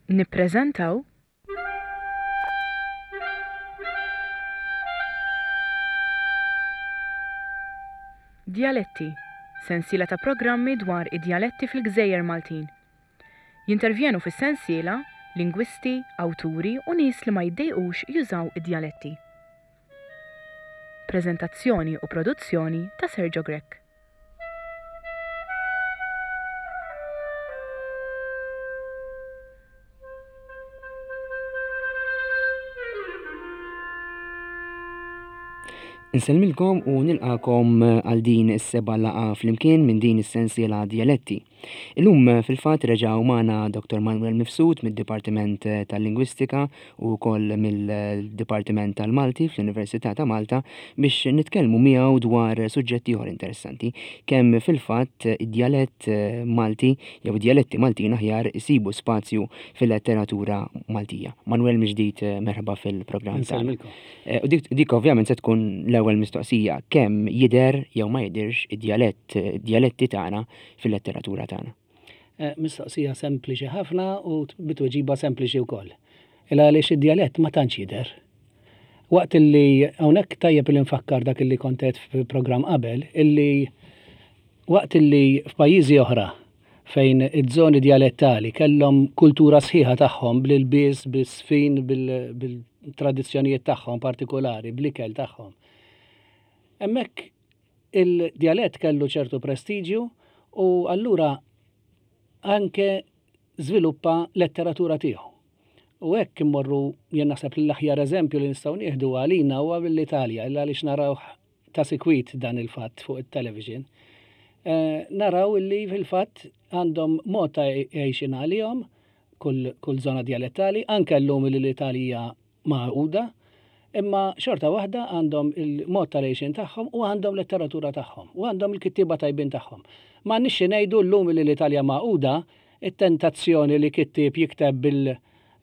Nippreżentaw. Djaletti, sensiela ta' programmi dwar id-djaletti fil-gżejjer Maltin. Jintervjenu fis-sensiela lingwisti, awturi u nies li ma jiddejqux jużaw id-djaletti. Preżentazzjoni u produzzjoni ta' Sergio Grech. Insellmilkom u nilqakom għal din is-seba' laqgħa flimkien minn din is-sensiela Djaletti. Illum fil-fatt reġgħu magħna Dr. Manuel Mifsud mid-Dipartiment tal-Lingwistika u wkoll mill-Dipartiment tal-Malti fl-Università ta' Malta biex nitkellmu miegħu dwar suġġett ieħor interessanti, kemm fil-fatt id-djalett Malti jew id-djaletti Maltin aħjar isibu spazju fil-letteratura Maltija. Manuel mill-ġdid merħba fil-programm tagħna. U dik, dik ovvjament se tkun l-ewwel mistoqsija, kemm jidher jew ma jidhirx id-djalett, id-djaletti tagħna fil-letteratura tagħna? Mistoqsija sempliċi ħafna u bi tweġiba sempliċi wkoll. Il għaliex id-djalett ma tantx jidher. Waqt illi hawnhekk tajjeb li nfakkar dak illi kont għedt fil-programm qabel, illi waqt illi f'pajjiżi oħra fejn iż-żoni djalettali kellhom kultura sħiħa tagħhom bl-ilbies, bis-sfin, bil-tradizzjonijiet tagħhom partikulari, bl-ikel tagħhom. Hemmhekk Il-djalett kellu ċertu prestiġju u allura anke żviluppa letteratura tiegħu. U hekk immorru jien naħseb li l-aħjar eżempju li nistgħu nieħdu għalina huwa mill-Italja, illa għaliex narawh ta' sikwit dan il-fatt fuq it-television. Eh, naraw illi fil-fatt għandhom mod ta' għejxin għalihom kull, kull żona djalettali, anke llum li l-Italja magħquda, imma xorta waħda għandhom il-mod tal-għixien tagħhom u għandhom letteratura tagħhom u għandhom il-kittieba tajbin tagħhom. M'għandniex xi ngħidu llum li l-Italja magħquda, it-tentazzjoni li kittieb jikteb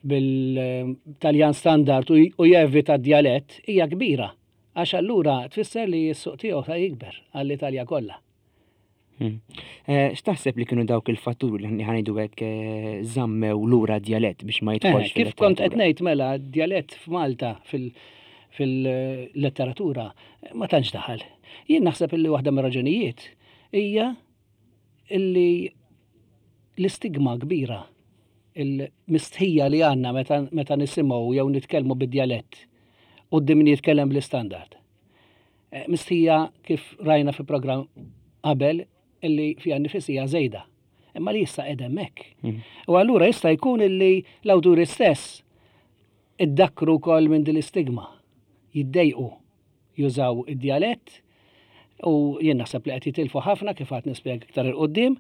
bil-Taljan standard u jevita d-djalett hija kbira għax allura tfisser li s-suq tiegħu sa jikber għall-Italja kollha. Hmm. Eh, x'taħseb li kienu dawk il-fatturi li ħanejdu hekk eh, żammew lura djalett biex ma jidħolx? Eh, kif kont qed ngħid mela djalett f'Malta fil-letteratura ma tantx daħal. Jien naħseb illi waħda mir-raġunijiet hija illi l-istigma kbira il-mistħija li għandna meta nisimgħu jew nitkellmu bid-djalett quddiem min jitkellem bl-istandard. Eh, mistħija kif rajna fi programm qabel illi fiha nifisija żejda. Imma li issa qed hemmhekk. Mm. U allura jista' jkun illi l-awturi stess iddakkru wkoll minn din l-istigma. Jiddejqu jużaw id-djalett u jien naħseb li qed jitilfu ħafna kif għad nispjega iktar 'il quddiem.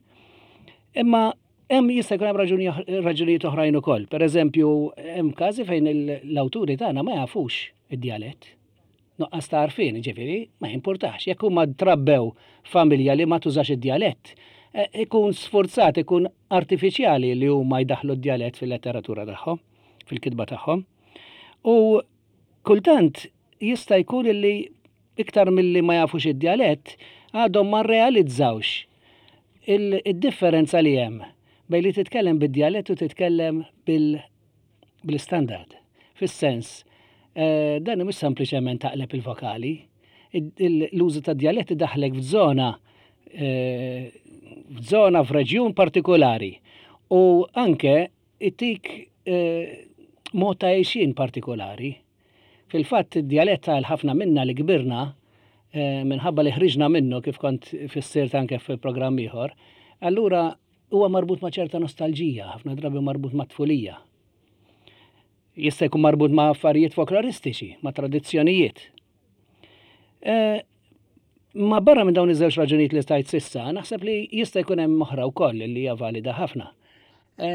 Imma hemm jista' jkun hemm raġunijiet oħrajn ukoll. Pereżempju, hemm każi fejn l-awturi tagħna ma jafux id-djalett. Nuqqas ta' għarfien, jiġifieri, ma jimpurtax. Jekk huma trabbew f'familja li ma tużax id-djalett, ikun sfurzat, ikun artifiċjali li huma jdaħħlu d-djalett fil-letteratura tagħhom, fil-kitba tagħhom. U kultant jista' jkun li iktar milli ma jafux id-djalett, għadhom ma rrealizzawx id-differenza li hemm bejn li titkellem bid-djalett u titkellem bil bl-istandard. Fis-sens, dan mhux sempliċement taqleb il-vokali. L-użu tad-djalett idaħħlek f'żona f'żona f'reġjun partikolari u anke jtik mod ta' għixien partikolari. Fil-fatt id-djalett għal ħafna minna li kbirna minħabba li ħriġna minnu kif kont fissirt anke fi programm ieħor, allura Huwa marbut ma' ċerta nostalġija, ħafna drabi marbut mat-tfulija. Jista' jkun marbut ma' affarijiet folkloristiċi, ma' tradizzjonijiet. E, ma barra minn dawn iż-żewġ raġunijiet li stajt sissa, naħseb li jista' jkun hemm oħra wkoll li hija valida ħafna. E,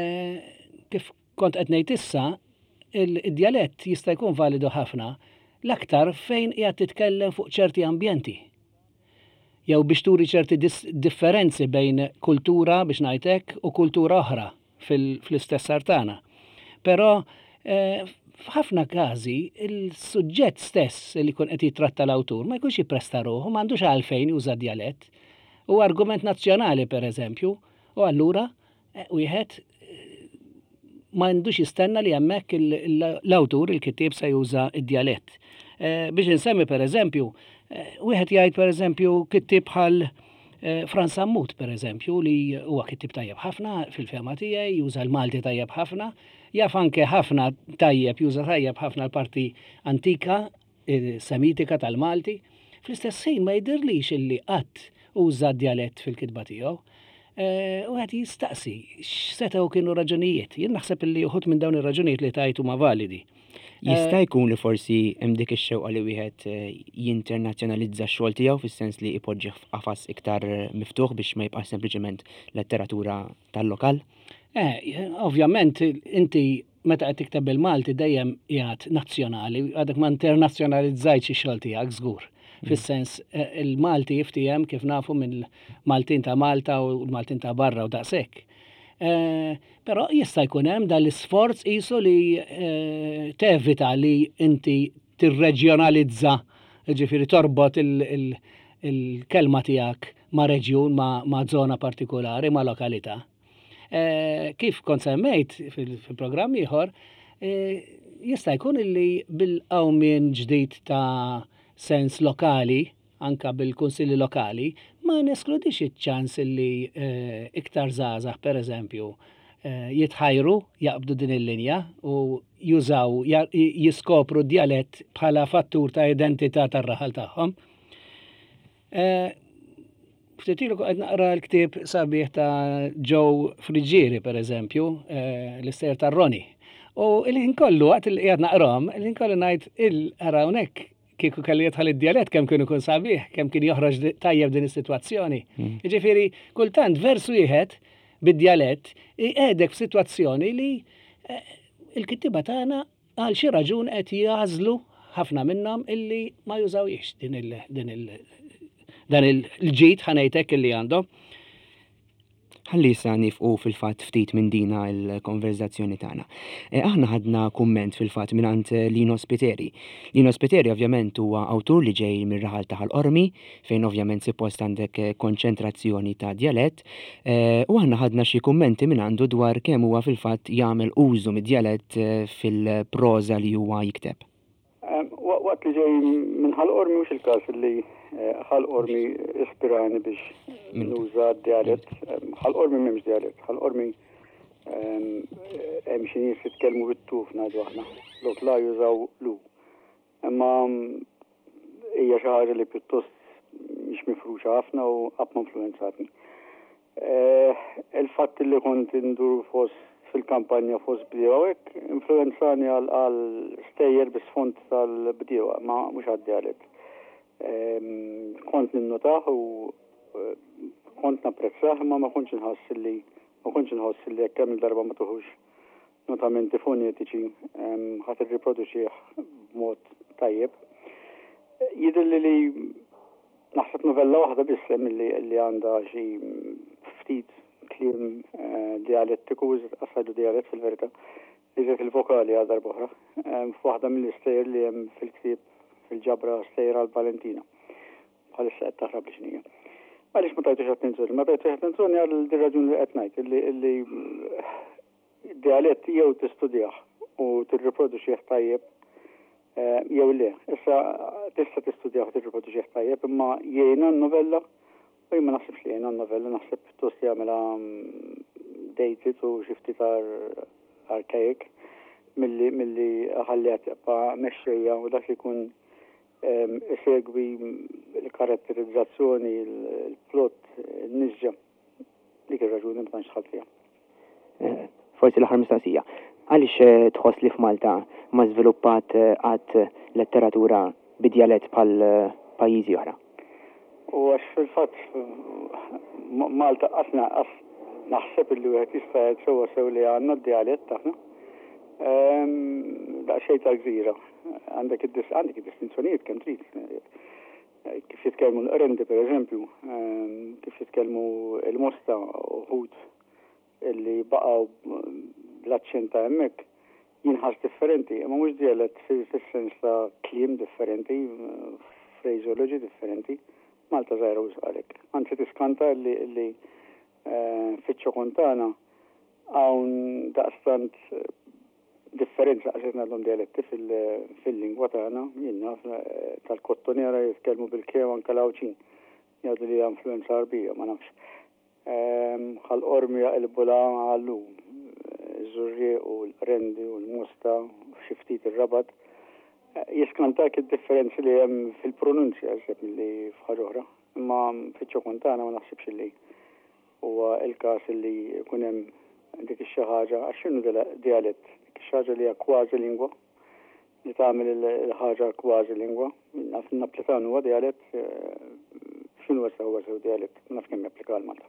kif kont qed ngħid issa, id-djalett jista' jkun validu ħafna l-aktar fejn qiegħed titkellem fuq ċerti ambjenti. jew biex turi ċerti differenzi bejn kultura, biex ngħid hekk, u kultura oħra fl-istess art tagħna. Però eh, f'ħafna każi il-suġġett stess li jkun qed jittratta l-awtur ma jkunx jippresta ruħu, m'għandux għalfejn juża djalett. U argument nazzjonali pereżempju, u allura eh, wieħed eh, ma għandux jistenna li hemmhekk l-awtur, il-kittieb se juża d-djalett. Biex insemmi pereżempju, wieħed jgħid pereżempju kittieb bħal Frans Sammut pereżempju li huwa kittieb tajjeb ħafna fil-fehma tiegħi, juża l-Malti tajjeb ħafna, jaf anke ħafna tajjeb, juża tajjeb ħafna l-parti antika semitika tal-Malti. Fl-istess ħin ma jidhirlix illi qatt uża d-djalett fil-kitba tiegħu. Wieħed jistaqsi x'setgħu kienu raġunijiet. Jien naħseb illi uħud minn dawn ir-raġunijiet li tajt huma validi. Jista' jkun li forsi hemm dik ix-xewqa li wieħed jinternazzjonalizza x-xogħol tiegħu fis-sens li jpoġġih f'qafas iktar miftuħ biex ma jibqax sempliċement letteratura tal-lokal? Ovvjament inti meta qed tikteb bil-Malti dejjem qiegħed nazzjonali, għadek ma internazzjonalizzajtx ix-xogħol tiegħek żgur. Fis-sens il-Malti jiftiehem kif nafu mill-Maltin ta' Malta u l-Maltin ta' barra u daqshekk. Però jista' jkun hemm dan l-isforz qisu li tevita li inti tirreġjonalizza, jiġifieri torbot il-kelma tiegħek ma' reġjun, ma' żona partikulari, ma' lokalità. Kif kont semmejt fil-programm ieħor, jista' jkun illi bil-qawmien ġdid ta' sens lokali, anke bil-kunsilli lokali, ma neskludix iċ-ċans illi iktar żgħażagħ pereżempju jitħajru jaqbdu din il-linja u jużaw, jiskopru d-djalett bħala fattur ta' identità tar-raħal tagħhom. Ftit ilu qed naqra l-ktieb sabiħ ta' Joe Friggieri, per eżempju, l-istejjer ta' Ronnie. U il-ħin kollu waqt li qiegħed naqrahom, il-ħin kollu ngħid il ara hawnhekk kieku kelli jidħol id-djalett kemm kien ikun sabiħ, kemm kien joħroġ tajjeb din is-sitwazzjoni. Jiġifieri kultant vers wieħed bid-djalett iqiegħdek f'sitwazzjoni li il-kittieba tagħna Għal xi raġun qed jagħżlu ħafna minnhom illi ma jużawhiex din il din il dan il-ġid ħa ngħid hekk illi għandhom. Ħalli issa nifqu fil-fatt ftit minn dina l-konverżazzjoni tagħna. Aħna ħadna kumment fil-fatt mingħand Lino Spiteri. Lino Spiteri ovvjament huwa awtur li ġej mir-raħal ta' Ħal Qormi, fejn ovvjament suppost għandek konċentrazzjoni ta' djalett, u aħna ħadna xi kummenti mingħandu dwar kemm huwa fil-fatt jagħmel użu mid-djalett fil-proża li huwa jikteb. Waqt li ġej minn Ħal Qormi mhux il-każ li Ħal Qormi ispirani biex nuża d-djalett. Ħal Qormi m'hemmx djalett. Ħal Qormi hemm xi nies jitkellmu bit-tuf ngħidu aħna. Lok la jużaw lu. Imma hija xi ħaġa li pjuttost mhix mifruxa ħafna u qatt ma influwenzatni. Il-fatt li kont indur fost fil-kampanja fost bdiewa u hekk influwenzani għal stejjer bi sfond tal-bdiewa, ma mhux għad-djalett. Kont ninnotah u kont napprezzah imma ma kontx inħoss li ma kontx inħoss li jekk kemm-il darba ma tuħux notamenti fonetiċi ħa tirriproduċih b'mod tajjeb. Jidhirli li naħseb novella waħda biss hemm li għandha xi ftit kliem dialettiku, qas dialett fil-verità, iżjed il-vokali għal darb'oħra, f'waħda mill-istejjer li hemm fil-ktieb fil-ġabra Stejjer għal Valentina. Bħalissa qed taħrab li x'inhija. Għaliex ma tajtux attenzjoni? Ma tajtux attenzjoni għal din raġuni li qed ngħid, illi dialett jew tistudjah u tirriproduċih tajjeb eh, jew le. Issa tista' tistudjah u tirriproduċih tajjeb, imma jgħinha n-novella u jien ma naħsibx li jgħinha n-novella, naħseb pjuttost jagħmilha mm, dated u xi ftit archaic milli milli ħalliha tibqa' mexxejja u dak li jkun isegwi l-karatterizzazzjoni, il-plot, in-nisġa. Dik ir-raġuni ma tantx dħalt fiha. Forsi l-aħħar mistoqsija. Għaliex tħoss li f'Malta ma żviluppat qatt letteratura bi djalett bħal pajjiżi oħra? U għax fil-fatt Malta qatt naħseb illi wieħed jista' jgħid sewwa sew li għandna d-djalett aħna. Daqsxejn ta' gżira. Għandek id-distinzjonijiet kemm trid. Kif jitkellmu l-Qrendi pereżempju, kif jitkellmu l-Mosta uħud illi baqgħu bl-aċċent ta' hemmhekk jinħass differenti, imma mhux djalett fis-sens ta' kliem differenti, phraseology differenti. Malta żgħira wisq għalhekk. Anzi tiskanta illi fiċ-ċokon tagħna. Hawn daqstant differenza għax qed ngħidlhom dialetti fil-lingwa tagħna, jien naf tal-Kottonera jitkellmu bil-K u anke l-Għawdxin jgħidu li hija influenza Għarbija, ma nafx. Ħal Qormi jaqilbu l-A għal U, iż-Żurrieq u l-Qrendi u l-Mosta u xi ftit ir-Rabat. Jiskantak id-differenzi li hemm fil-pronunzja iżjed milli f'ħaġa oħra. Imma fiċ-ċokon tagħna ma naħsibx li huwa l-każ li jkun hemm dik ix-xi ħaġa, għax x'inhu dialett? Dik ix-xi ħaġa li hija kważi lingwa, li tagħmel il-ħaġa kważi lingwa. Naf in-Naplitan huwa dialett, x'inhu issa huwa sew dialett? Ma nafx kemm japplika għal Malta.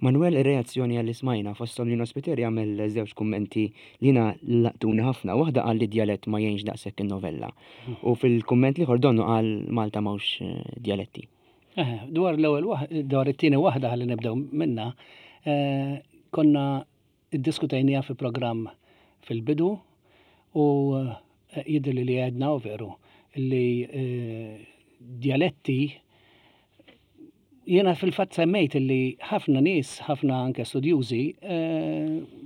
Manuel ir-reazzjoni għal li smajna fosthom Lino Spiteri għamel żewġ kummenti li jiena laqtuni ħafna. Waħda qal li d-djalett ma jgħinx daqshekk in-novella. U fil-kumment l-ieħor donnu qal Malta m'hawnx djaletti. Eħe, dwar l-ewwel dwar it-tieni waħda ħalli nibdew minnha, konna iddiskutejniha fi programm fil-bidu u jidhirli li għedna u veru li djaletti Jiena fil-fatt semmejt li ħafna nies, ħafna anke studjużi,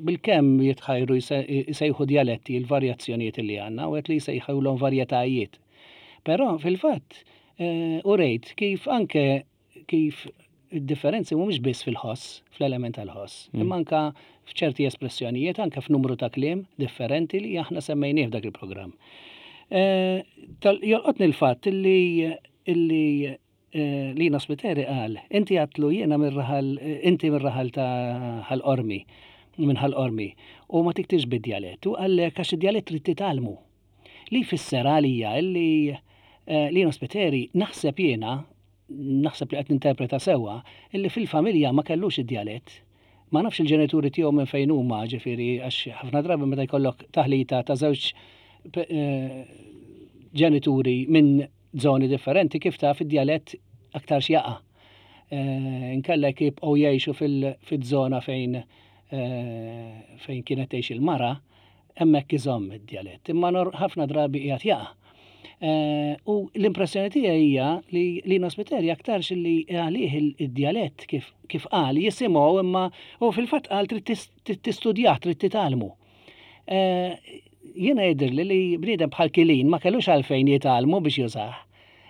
bilkemm jitħajru jsejħu djaletti l-varjazzjonijiet li għandna u għedt li jsejħulhom varjetajiet. Però fil-fatt urejt kif anke kif id-differenzi mhumiex biss fil-ħoss, fl-element tal-ħoss, imma anke f'ċerti espressjonijiet, anke f'numru ta' kliem differenti li aħna semmejnieh f'dak il-programm. Jolqotni l-fatt li illi Lino Spiteri qal, inti għadtlu jiena mir-raħal, inti mir-raħal ta' Ħal Qormi, minn Ħal Qormi, u ma tiktibx bid-djalett. U qallek għax id-djalett trid titgħallmu. Li jfisser għalija illi Lino Spiteri naħseb jiena, naħseb li qed ninterpreta sewwa, illi fil-familja ma kellux id-djalett. Ma nafx il-ġenituri tiegħu minn fejn huma, ġifieri għax ħafna drabi meta jkollok taħlita ta' żewġ ġenituri minn żoni differenti kif taf id-djalett aktarx jaqa'. Inkella jekk jibqgħu jgħixu fiż-żona fejn fejn kienet tgħix il-mara, hemmhekk iżomm id-djalett. Imma ħafna drabi qiegħed jaqa'. U l-impressjoni tiegħi hija li Lino Spiteri aktarx li għalih id-djalett kif kif qal jisimgħu imma u fil-fatt qal trid tistudjah, trid titgħallmu. Jiena jidhirli li bniedem bħal Kilin ma kellux għalfejn jitgħallmu biex jużah.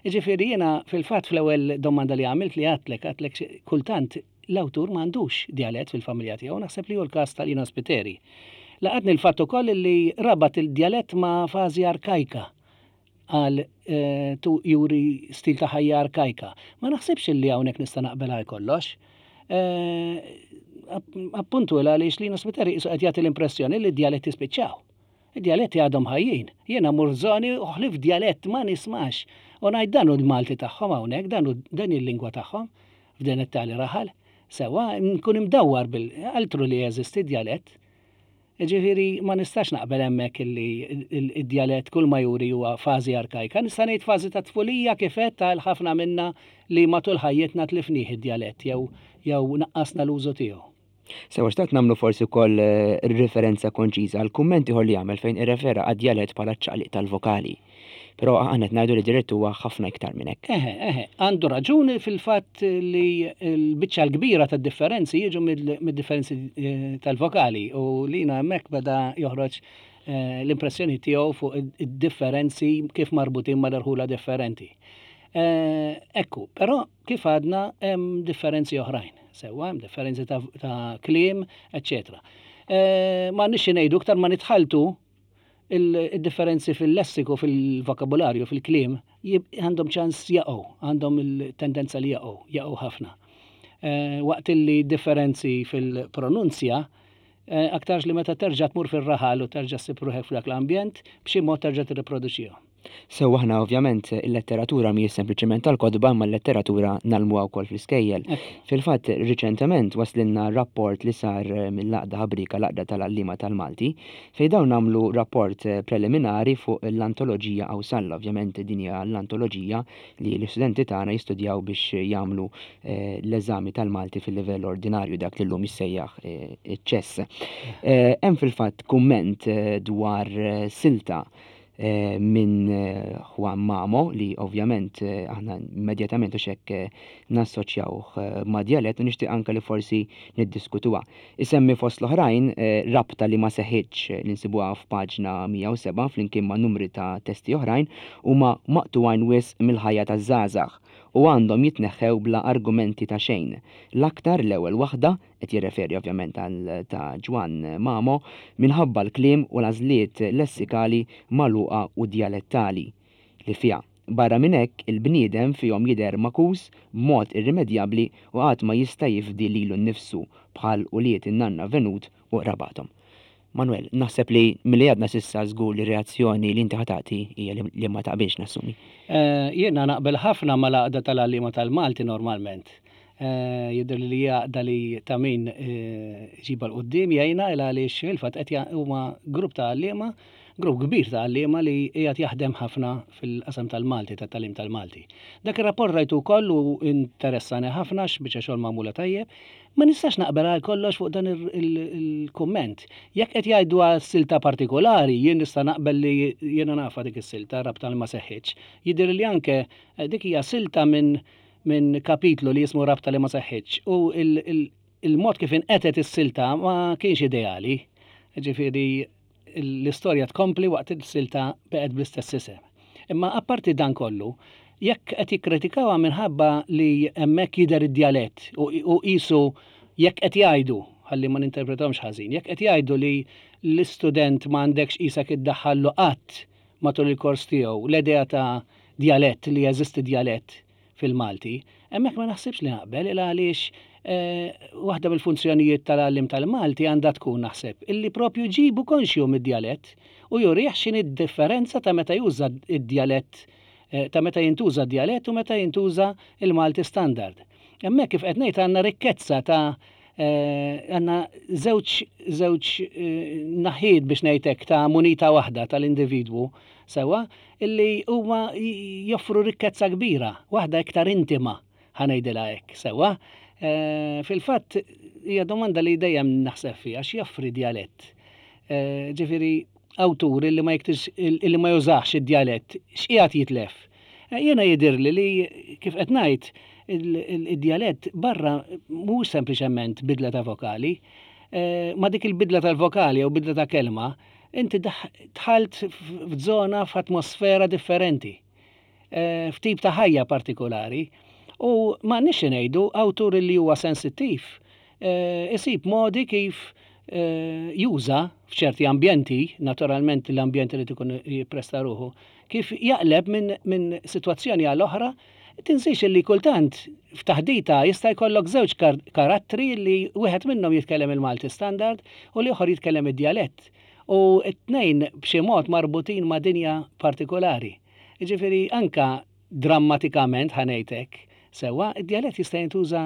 Jiġifieri jiena fil-fatt fl-ewwel domanda li għamilt li għadtlek, għadtlek kultant l-awtur ma għandux djalett fil-familja tiegħu, naħseb li hu l-każ ta' Lino Spiteri. Laqatni l-fatt ukoll li rabat il-djalett ma' fażi arkajka. Qal tu juri stil ta' ħajja arkajka. Ma naħsibx li hawnhekk nista' naqbel għal kollox. Appuntu il għaliex Lino Spiteri qisu qed jagħti l-impressjoni li d-djaletti spiċċaw. Id-djaletti għadhom ħajjin. Jiena mmur f'żoni u ħlief djalett ma nismax. U ngħid dan hu l-Malti tagħhom hawnhekk, dan hu din hi l-lingwa tagħhom f'din it-tali raħal. Sewwa, nkun imdawwar bil altru li jeżisti djalett. Jiġifieri ma nistax naqbel hemmhekk illi d-djalett kull ma juri huwa fażi arkajka. Nista' ngħid fażi ta' tfulija kif għedt għal ħafna minna li matul ħajjitna tlifnih id-djalett jew jew naqqasna l-użu tiegħu. Sewwa xtaqt nagħmlu forsi wkoll riferenza konċiża għal kumment ieħor li għamel fejn irrefera għad-djalett bħala ċ-ċaqliq tal-vokali. Però aħna qed ngħidu li d-djalett huwa ħafna iktar minn hekk. Eħe, eħe, għandu raġun fil-fatt li l-biċċa l-kbira tad-differenzi jiġu mid-differenzi tal-vokali u Lino hemmhekk beda joħroġ l-impressjoni tiegħu fuq id-differenzi kif marbutin mal-irħula differenti. Ekku, però kif għadna hemm differenzi oħrajn, sewwa hemm differenzi ta' kliem, eċċetera. M'għandniex xi ngħidu iktar ma nitħalltu Il-differenzi fil-lessiku, fil-vokabularju, fil-kliem, għandhom ċans jaqgħu, għandhom il-tendenza li jaqgħu, jaqgħu ħafna. Waqt li differenzi fil-pronunzja, aktarx li meta terġa' tmur fir-raħal u terġa' ssib ruħek f'dak l-ambjent, b'xi mod terġa' tirriproduċihom. Sewwa aħna ovvjament il-letteratura mhijiex sempliċement tal-kotba imma l-letteratura ngħallmuha wkoll fl-iskejjel. Fil-fatt riċentement waslilna rapport li sar mill-Għaqda Ħabrieka l-Għaqda tal-Għalliema tal-Malti fejn dawn għamlu rapport preliminari fuq l-antoloġija Qawsalla. Ovvjament din hija l-antoloġija li l-istudenti tagħna jistudjaw biex jagħmlu l-eżami tal-Malti fil-livell ordinarju dak li llum jissejjaħ iċ-ċess. Hemm fil-fatt kumment dwar silta. minn Juan Mamo li ovvjament aħna immedjatament u xekk nassoċjawh ma' djalett u nixtieq anke li forsi niddiskutuha. Isemmi fost l-oħrajn rabta li ma seħħitx li nsibuha f'paġna 107 flimkien ma' numri ta' testi oħrajn huma maqtugħin wisq mill-ħajja taż-żgħażagħ u għandhom jitneħħew bla argumenti ta' xejn, l-aktar l-ewwel waħda, qed jirreferi ovvjament għal ta' Ġwann Mamo, minħabba l-kliem u l-għażliet lessikali magħluqa u djalettali li fiha. Barra minn hekk, il-bniedem fihom jidher magħkus b'mod irrimedjabbli u qatt ma jista' jifdi lilu nnifsu bħal ulied in-nanna Venut u qrabathom. Manuel, naħseb li milli għadna s'issa żgur li r-reazzjoni li inti ħa tagħti hija li ma taqbilx nassumi. Jiena naqbel ħafna mal-Għaqda tal-Għalliema tal-Malti normalment. Jidhirli li hija għaqda li ta' min iġibha 'l quddiem jgħinha il għaliex fil-fatt qed huma grupp ta' għalliema, grupp kbir ta' għalliema li qiegħed jaħdem ħafna fil-qasam tal-Malti, tat-tagħlim tal-Malti. Dak ir-rapport rajtu wkoll u interessani ħafna għax biċċa xogħol magħmula tajjeb. Ma nistax naqbel għal kollox fuq dan il-kumment. Jekk qed jgħidu għal silta partikolari, jien nista' naqbel li jiena nafha dik is-silta, rabta li ma seħħitx. Jidhirli li anke dik hija silta minn minn kapitlu li jismu Rabta li ma seħħitx u il-mod kif inqetgħet is-silta ma kienx ideali. Ġifieri l-istorja tkompli waqt il-silta beqgħet bl-istess isem. Imma apparti dan kollu, jekk qed jikkritikawha minħabba li hemmhekk jidher id-djalett u qisu jekk qed jgħidu, ħalli ma ninterpretahomx ħażin, jekk qed jgħidu li l-istudent ma għandekx qisek iddaħħallu qatt matul il-kors tiegħu l-idea ta' djalett li jeżisti djalett fil-Malti, hemmhekk ma naħsibx li naqbel il għaliex waħda mill-funzjonijiet tal-għalliem tal-Malti għandha tkun naħseb illi propju jġibu konxju mid-djalett u jurih x'inhi d-differenza ta' meta juża d-djalett ta' meta jintuża d-djalett u meta jintuża l-Malti standard. Hemmhekk kif qed ngħid għandna rikkezza ta' għandna żewġ żewġ naħiet biex ngħid hekk ta' munita waħda tal-individwu sewwa illi huma joffru rikkezza kbira, waħda iktar intima ħa ngħidilha hekk sewwa. Fil-fatt hija domanda li dejjem naħseb fiha x'joffri djalett. Ġifieri awtur illi ma jiktibx illi ma jużax id-djalett x'qiegħed jitlef? Jiena jidhirli li kif qed ngħid id-djalett barra mhuwiex sempliċement bidla ta' vokali. Ma' dik il-bidla tal-vokali jew bidla ta' kelma, inti dħalt f'żona f'atmosfera differenti, f'tip ta' ħajja partikulari. U m'għandniex xi ngħidu, awtur li huwa sensittiv isib modi kif juża f'ċerti ambjenti, naturalment l-ambjent irid ikun jippresta ruħu, kif jaqleb minn min sitwazzjoni għal oħra. Tinsiex li kultant f'taħdita jista' jkollok żewġ karattri li wieħed minnhom jitkellem il-Malti standard u l-ieħor jitkellem id-djalett. U t-tnejn b'xi mod marbutin ma' dinja partikolari. Jiġifieri anka drammatikament ħa ngħid hekk, sewwa, id-djalett jista' jintuża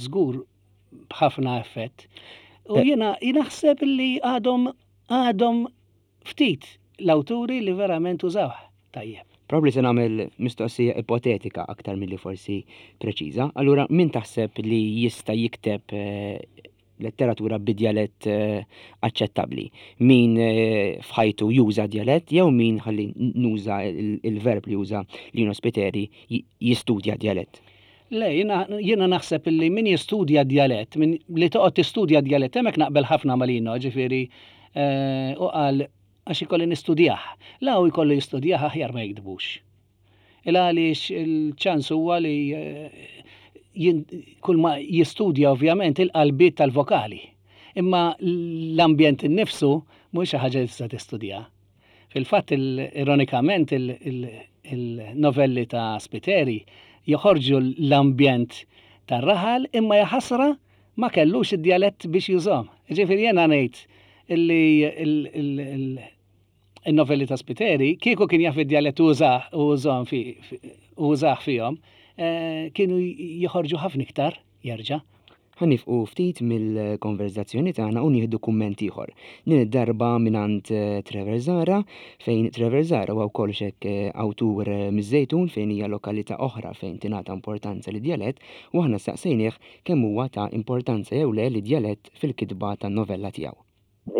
żgur b'ħafna effett. U jiena naħseb li għadhom għadhom ftit l-awturi li verament użawh tajjeb. Probabbli se nagħmel mistoqsija ipotetika aktar milli forsi preċiża. Allura min taħseb li jista' jikteb letteratura bi djalett aċċettabbli. Min f'ħajtu juża djalett jew min ħalli nuża il-verb li juża Lino Spiteri jistudja djalett. Le, jiena naħseb li min jistudja djalett, min li toqgħod tistudja djalett, hemmhekk naqbel ħafna ma' Lino, ġifieri u qal għax ikolli nistudjah. La hu jkollu jistudjah aħjar ma jiktbux. Il għaliex il-ċans huwa li kull ma jistudja ovvjament il-qalbiet tal-vokali. Imma l-ambjent innifsu mhux xi ħaġa li tista' tistudja. Fil-fatt ironikament il-novelli ta' Spiteri joħorġu l-ambjent tar-raħal imma jaħasra ma kellux id-djalett biex jużhom. Ġifieri jiena ngħid illi in-novelli ta' Spiteri, kieku kien jaf id-djalett u użahom fi, u użah fihom, kienu joħorġu ħafna iktar jerġa'. Ħa nifqu ftit mill-konverżazzjoni tagħna u nieħdu kumment ieħor. Din id-darba mingħand Trevor Zahra, fejn Trevor Zahra huwa wkoll x'hekk awtur miż-Żejtun fejn hija lokalità oħra fejn tingħata importanza lid-djalett u aħna staqsejnieh kemm huwa ta' importanza jew le lid-djalett fil-kitba tan-novella tiegħu.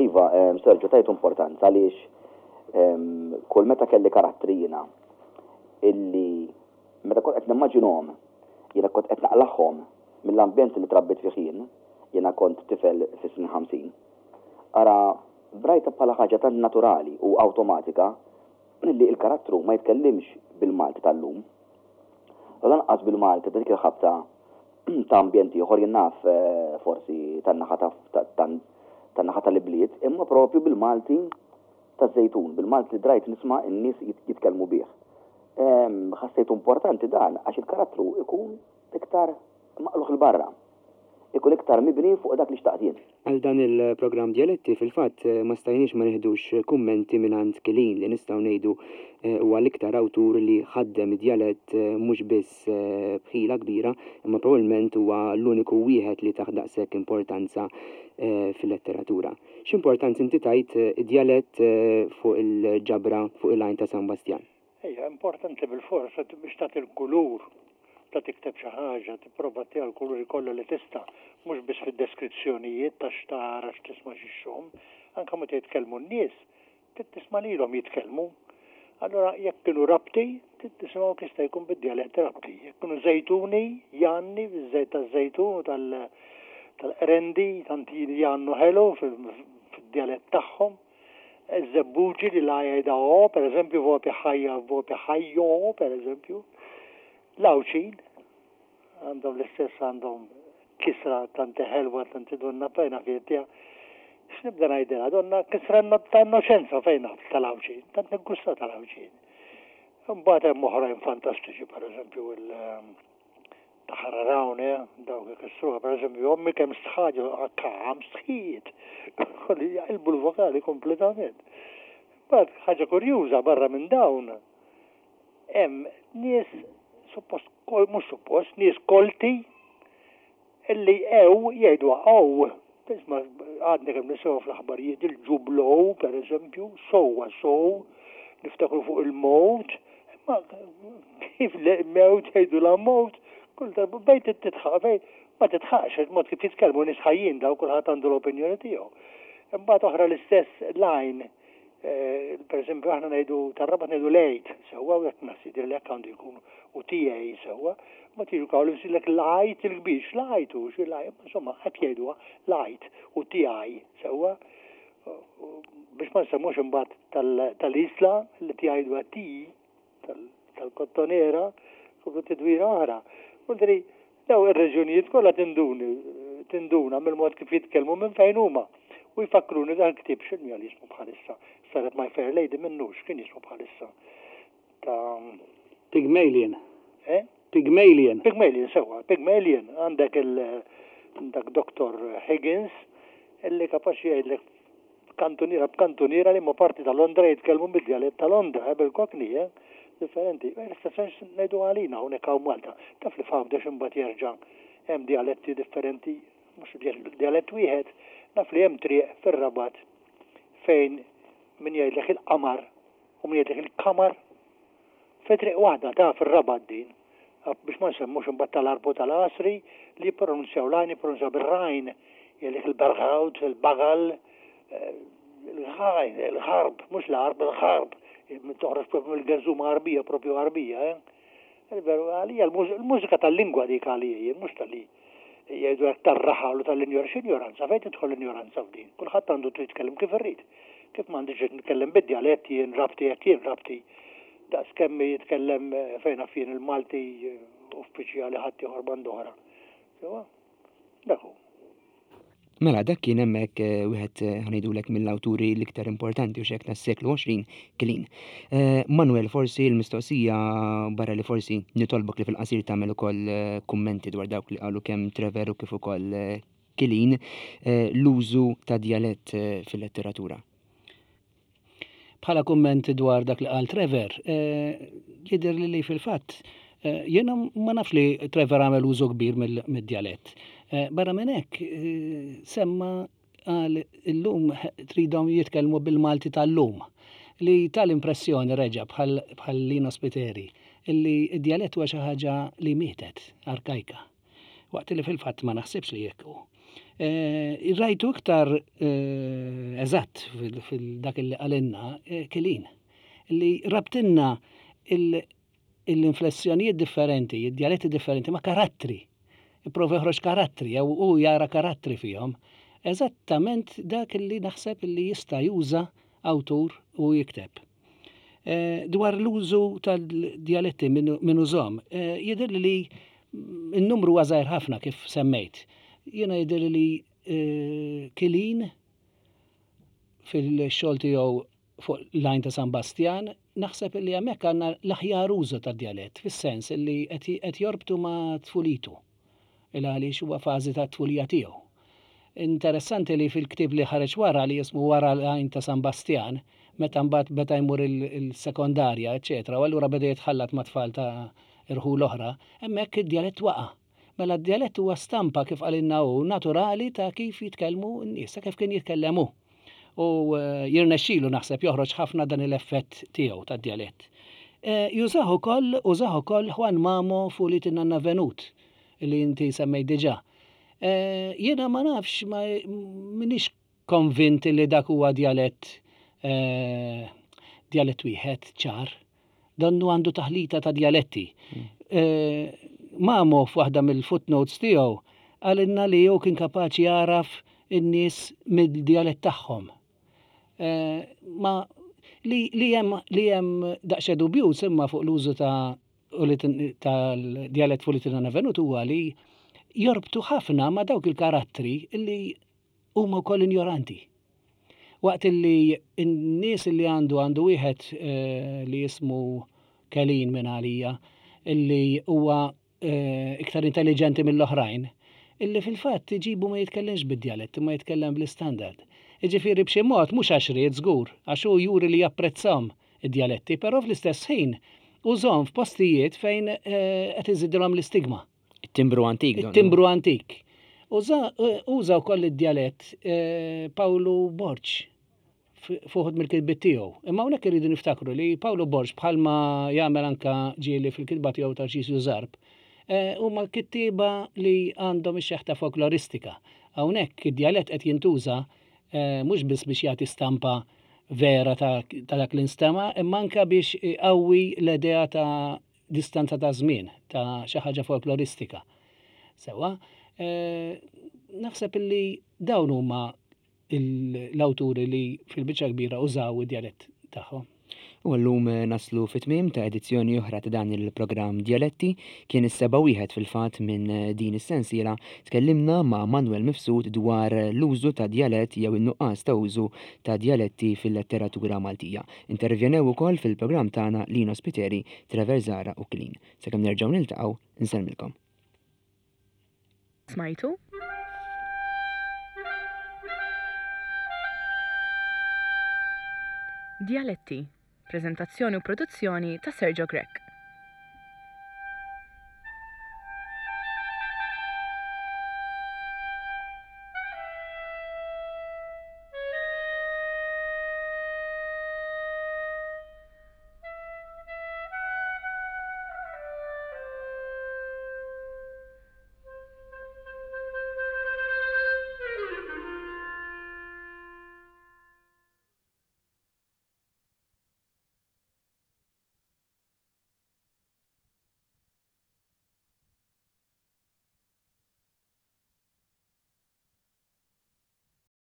Iva, Sergio, tajtu importanza għaliex Kull meta kelli karattri jiena illi meta kont qed nimmaġinhom jiena kont qed naqlagħhom mill-ambjent li trabbejt fih jien, jiena kont tifel fis-snin 50. Ara, rajtha bħala ħaġa tant naturali u awtomatika illi l-karattru ma jitkellimx bil-Malti tal-lum u lanqas bil-Malti ta' dik il-ħabta ta' ambjent ieħor, jien naf forsi tan-naħa tan-naħa tal-ibliet, imma propju bil-Malti taż-Żejtun, bil-Malti li drajt nisma' n-nies jitkellmu bih. Ħassejtu importanti dan għax il-karattru ikun iktar maqlugħ 'il barra. Ikun iktar mibni fuq dak li xtaqt jien. Għal dan il-programm Djaletti fil-fatt ma stajniex ma nieħdux kummenti mingħand Kilin li nistgħu ngħidu huwa l-iktar awtur li ħaddem id-djalett mhux biss b'ħila kbira imma probabbilment huwa l-uniku wieħed li tah daqshekk importanza fil-letteratura. X'importanza inti tajt id-djalett fuq il-ġabra Fuq il-Għajn ta' San Bastjan? Ejja, importanti bilfors biex tagħti l-kulur ta' tikteb xi ħaġa, tipprova ttiha l-kuluri kollha li tista', mhux biss fid-deskrizzjonijiet ta' x'tara, x'tisma' x'ixxomm, anke meta jitkellmu n-nies, trid tisma' lilhom jitkellmu. Allura jekk kienu Rabti, trid tisimgħu kif jista' jkun bid-djalett Rabti. Jekk kienu Żejtuni, jgħanni biż-żejt taż-żejtun u tal-qrendi, tant jgħannu ħelu fid-djalett tagħhom. Iż-żebbuġi li la jgħidha o, per eżempju, vopi ħajja, vopi ħajjo, per eżempju. L-Għawdxin għandhom l-istess għandhom kisra tanti ħelwa, tanti donna pena fietja. X'nibda ngħidilha, donna kisra ta' innoċenza fejn naf tal-Għawdxin, tant niggusta tal-Għawdxin. Imbagħad hemm oħrajn fantastiċi, per eżempju, il- Ta' ħararawne, dawk ikissruha, per eżempju, ommi kemm stħaġa, kam stħiet, kolli jaqilbu l-vokali kompletament. Mbagħad ħaġa kurjuża barra minn dawn, hemm nies suppost, mhux suppost, nies kolti illi ew jgħiduha ow. Tisma' għadni kemm nisimgħu fl-aħbarijiet il-ġublow, per eżempju, sowa sow, niftakru fuq il-mowt, imma kif mewt jgħidu la mowt, kull darba bejn titħaq, bejn ma titħaqx, il-mod kif jitkellmu nies ħajjin daw kulħadd għandu l-opinjoni tiegħu. Imbagħad oħra l-istess lajn Per eżempju, aħna ngħidu tar-Rabat ngħidu l-għid sewwa, u hekk naħseb li hekk għandu jkun u tiegħi sewwa, ma tiġu kawl jisirlek l-għid il-kbir, x'l-għid hu, xi l-għid, insomma, hekk jgħiduha l-għid u tiegħi sewwa. Biex ma nsemmux imbagħad tal-Isla li tgħiduha ti tal-Kottonera, u tidwira oħra. Vuol Dawn ir-reġjunijiet kollha tinduni, tinduna mill-mod kif jitkellmu minn fejn huma. U jfakkruni dak il-ktieb x'inhu għal jismu bħalissa? Saret My Fair Lady minnu x'kien jismu bħalissa? Ta' Pygmalion. Eh? Pygmalion. Pygmalion, sewwa, Pygmalion. Għandek il dak Dr. Higgins illi kapaċi jgħidlek Kantuniera b'kantuniera liema parti ta' Londra jitkellmu bid-djalett ta' Londra, eh, bil-Cockney, eh, differenti. Eh, l-istess sens ngħidu għalina hawnhekk hawn Malta. Taf li f'Għawdex imbagħad jerġa' hemm djaletti differenti, mhux djalett wieħed. Naf li hemm triq fir-Rabat fejn min jgħidlek il-qamar u min jgħidlek il-kamar. Fi triq waħda ta' fir-Rabat din. Biex ma nsemmux imbagħad tal-Għarb u tal-Għasri li jippronunzjaw l-għajn jippronunzjaw bir-rajn, jgħidlek il-bergħud, il-bagal, il-ghajn, il-ħarb, mhux l-għarb, il-ħarb, toħroġ propju mill-gerżuma Għarbija, propju Għarbija, eh. Veru, għalija l-mużika tal-lingwa dik għalija jien, mhux tal-li jgħidu hekk tar-raħal u tal-injor, x'injoranza, fejn tidħol l-injoranza f'din? Kulħadd għandu trid jitkellem kif irrid. Kif m'għandix dritt nitkellem bid-djalett jien rabti jekk jien rabti. Daqs kemm jitkellem fejn naf jien il-Malti uffiċjali ħaddieħor band'oħra. Sewwa? Dak hu. Mela, dak kien hemmhekk wieħed ħa ngħidulek mill-awturi l-iktar importanti u x'hekk tas-seklu 20, Kilin. Manuel, forsi l-mistoqsija barra li forsi nitolbok li fil-qasir tagħmel ukoll kummenti dwar dawk li qalu kemm Trevor u kif ukoll Kilin, l-użu ta' djalett fil-letteratura. Bħala kumment dwar dak li qal Trevor, jidhirli li fil-fatt jiena ma nafx li Trevor għamel użu kbir mid-djalett. Barra minn hekk semma qal illum tridhom jitkellmu bil-Malti tal-lum li ta l-impressjoni reġa' bħal Lino Spiteri illi d-djalett huwa xi ħaġa li mietet, arkajka. Waqt li fil-fatt ma naħsibx li hekk hu. Rajtu iktar eżatt fil-dak li qalilna eh, Kilin li rabtinna l-inflessjonijiet differenti, id-djaletti differenti ma' karattri. Ipprova joħroġ karattri jew hu jara karattri fihom. Eżattament dak li naħseb li jista' juża awtur u jikteb. Eh, dwar l-użu tal-djaletti minn użhom, eh, jidher li n-numru huwa żgħir ħafna kif semmejt. Jiena jidher li eh, Kilin fil-xogħol tiegħu fuq l-għajn ta' San Bastjan, naħseb li hemmhekk għandna l-aħjar użu tad-djalett, fis-sens li qed jorbtu ma' tfulitu, il għaliex huwa fażi tat-tfulija tiegħu. Interessanti li fil-ktieb li ħareġ wara li jismu Wara l-Għajn ta' San Bastjan, meta mbagħad beda jmur il-sekondarja, eċċetera, u allura beda jitħallat ma' tfal ta' irħul oħra, hemmhekk id-djalett waqa'. Mela d-djalett huwa stampa, kif qalilna hu, naturali ta' kif jitkellmu n-nies, ta' kif kien jitkellem hu. U jirnexxilu naħseb joħroġ ħafna dan il-effett tiegħu tad-djalett. Jużah ukoll, użah ukoll Juan Mamo f'Ulied in-Nanna Venut, li inti semmejt diġà. Jiena ma nafx, ma m'iniex konvint li dak huwa djalett djalett wieħed ċar. Donnu għandu taħlita ta' djaletti. Mamo f'waħda mill-footnotes tiegħu qalilna li hu kien kapaċi jagħraf in-nies mid-djalett tagħhom. Ma li li hemm li hemm daqsxejn dubjuż imma fuq l-użu ta' tal-djalett Fulitinana Venut huwa li jorbtu ħafna ma' dawk il-karattri li huma wkoll injoranti. Waqt li n-nies li għandu għandu wieħed eh, li jismu Kelin minn għalija illi huwa eh, iktar intelligenti mill-oħrajn, illi fil-fatt iġibu ma jitkellimx bid-djalett imma jitkellem bl-istandard. Jiġifieri b'xi mod mhux għax ried żgur, għax hu juri li japprezzahom id-djaletti, però fl-istess ħin użahom f'postijiet fejn eh, qed iżidilhom l-istigma. It-timbru antik. It-timbru antik. Uża wkoll id-djalett eh, Pawlu Borg fuħud mill-kitbiet tiegħu. Imma hawnhekk irridu niftakru li Pawlu Borg bħalma jagħmel anka ġieli fil-kitba tiegħu Tarċisju Zarb, eh, huma kittieba li għandhom ix-xeħta folkloristika. Hawnhekk id-djalett qed jintuża eh, mhux biss biex jagħti stampa vera ta' dak li nstema', imma anka biex iqawwi l-idea ta' distanza ta' żmien, ta' xi ħaġa folkloristika. Sewwa, eh, naħseb illi dawn huma l-awturi li fil-biċċa kbira użaw id-djalett tagħhom. U llum eh, naslu fit-tmiem ta' edizzjoni oħra ta' dan il-programm Djaletti. Kien is-seba' wieħed fil-fatt minn eh, din is-sensiela. Tkellimna ma' Manuel Mifsud dwar l-użu ta' djalett jew in-nuqqas ta' użu ta' djaletti fil-letteratura Maltija. Intervjenew ukoll fil-programm tagħna Lino Spiteri, Trevor Zahra u Clean. Sakemm nerġgħu niltaqgħu, insellmilkom. Smajtu? Djaletti, preżentazzjoni u produzzjoni ta' Sergio Grech.